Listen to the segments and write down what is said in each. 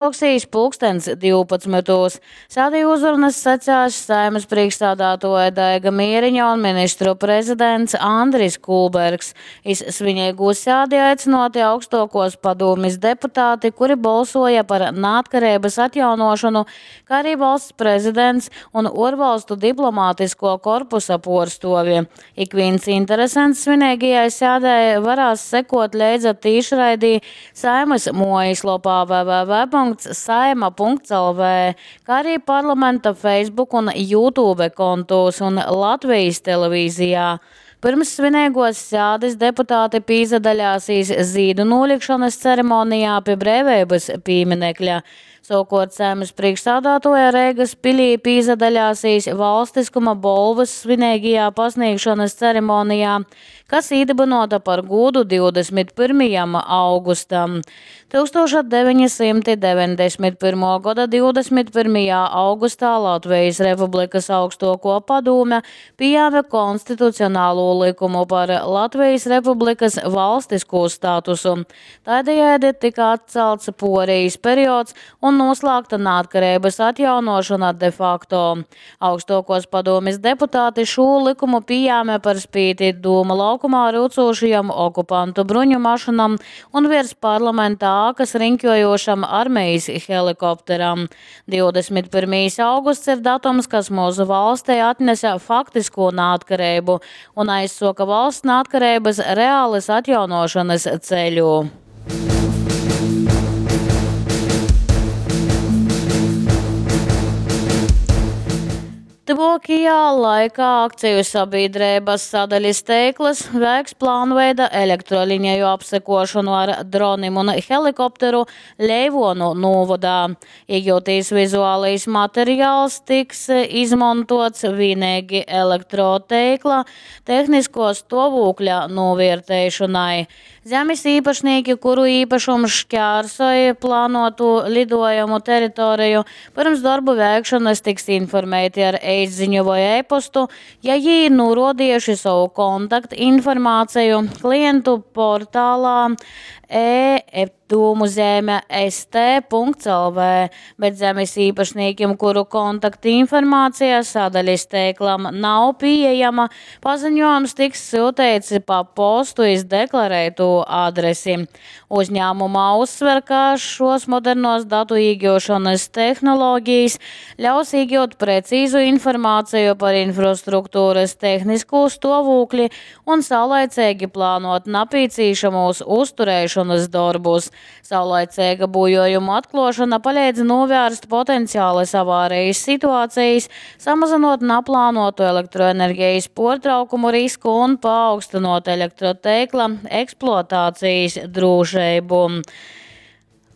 Suoksīs pulkstens 12. Sēdī uzrunas sacēs Saeimas prīšksādātuoja Daiga Mieriņa un ministru prezidents Andris Kulbergs. Iz svineigū sēdi aicynuoti augstuokuos padūmis deputāti, kuri bolsuoja par naatkareibys atjaunuošonu, kai ari valsts prezidents un uorvalstu diplomātiskuo korpusa puorstuovji. Ikvīns interesents svineigajai sēdei varēs sekuot leidza tīšraidī Saeimys muojislopā www.saeima.lv, kā arī parlamenta Facebook un YouTube kontūs un Latvejis Televīzijā. Pyrms svineiguos sēdis deputāti pīzadaļāsīs zīdu nūlikšonys ceremonijā pi Breiveibys pīminekļa. Sovukuort Saeimys prīšksādātuoja Reigys pilī pīzadaļāsīs Valstiskuma bolvys svineigajā pasnīgšonys ceremonijā, kas īdybynuota par gūdu 21. Augustam. 1991. Goda 21. Augustā Latvejis Republikys Augstuokuo padūme pījāme konstitucionalū lykumu par Latvejis Republikys valstiskū statusu. Taidejaidi tyka atcalts puorejis periods un nūslāgta naatkareibys atjaunuošona de facto. Augstuokuos padūmis deputati šū lykumu pījāme par spīti Dūma laukumā ryucūšajom okupantu bruņu mašynom un viers parlamenta ākys riņķojūšam armejis helikopteram. 21. Augusts ir datums, kas myusu valstei atnese faktiskū naatkareibu un aizsuoka valsts naatkareibys realys atjaunuošonys ceļu. Tyvuokajā laikā akceju sabīdreiba Sadalis teikls veiks plānveida elektrolineju apsekuošonu ar dronim un helikopteru Leivuonu nūvodā. Īgiutīs vizuālais materials tiks izmontuots vīneigi elektroteikla tehniskuo stuovūkļa nūvierteišonai. Zemis īpašnīki, kuru īpašums šķārsoj plānuotū lidojamu teritoreju, pyrms dorbu veikšonys tiks informeiti ar eisziņu voi e-postu, ja jī ir nūruodejuši sovu kontaktinformaceju klientu portalā e-dūmuzeme st.lv, bet zemis īpašnīkim, kuru kontaktinformaceja sadalis teiklam nav pīejama, paziņuojums tiks syuteits pa postu iz deklareitū adresi. Uzņāmumā uzsver, ka šuos modernuos datu īgiušonys tehnologejis ļaus īgiut precīzu informaceju par infrastrukturys tehniskū stuovūkli un saulaiceigi plānuot napīcīšamūs uztureišonys dorbus. Saulaiceiga būjuojumu atkluošona paleidz nūvērst potencialys avārejis situacejis, samazynuot naplānuotu elektroenergejis puortraukumu risku un paaugstynuot elektroteikla ekspluatacejis drūšeibu.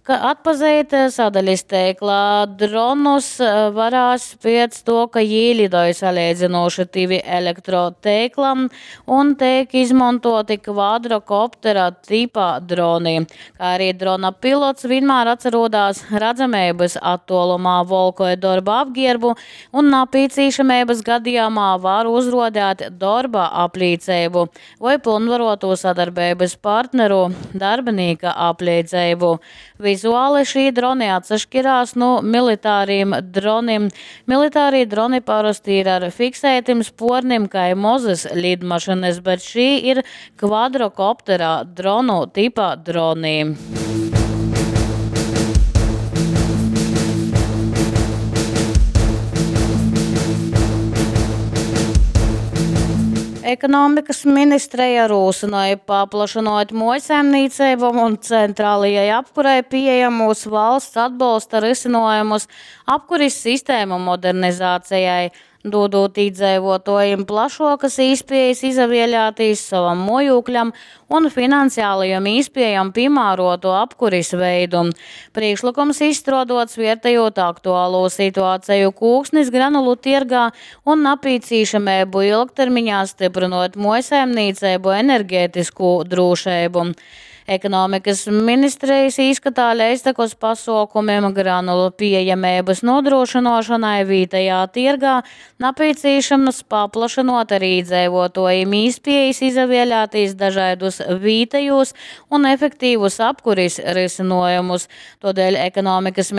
Ka atpazeit sadalis teikla dronus varēs piec tuo, ka jī lidoj saleidzynūši tyvi elektroteiklam un teik izmontuoti kvadrokoptera tipa droni. Kā arī drona pilots vienmēr atsarūdās radzameibys attuolumā, volkoj dorba apgierbu un napīcīšameibys gadījumā var uzruodēt dorba aplīceibu voi pylnvaruotu sadarbeibys partneru darbinīka aplieceibu. Vizuāli šī droni atsašķirās nu militāriem dronim. Militārī droni parasti ir ar fiksētim spuornim kai mozys lidmašynys, bet šī ir kvadrokoptera dronu tipa droni. Ekonomikas ministreja rūsynoj paplašynuot muojsaimnīceibom un centrālajai apkurei pīejamūs valsts atbolsta rysynuojumus apkuris sistēmu modernizācejai, dūdūt īdzeivuotuojim plašuokys īspiejis izavielētīs sovam muojūkļam un finansiālajom īspiejom pīmāruotu apkuris veidu. Prīšklykums izstruoduots, viertejūt aktualū situaceju kūksnis granulu tiergā un napīcīšameibu ilgtermiņā styprynuot muojsaimnīceibu energetiskū drūšeibu. Ekonomikas ministrijas īskatā leidztekus pasuokumim granulu pīejameibys nūdrūšynuošonai vītejā tiergā napīcīšams paplašynuot arī īdzeivuotuojim īspiejis izavielētīs dažaidus vītejūs un efektīvus apkuris rysynuojumus. Tuodeļ ekonomikas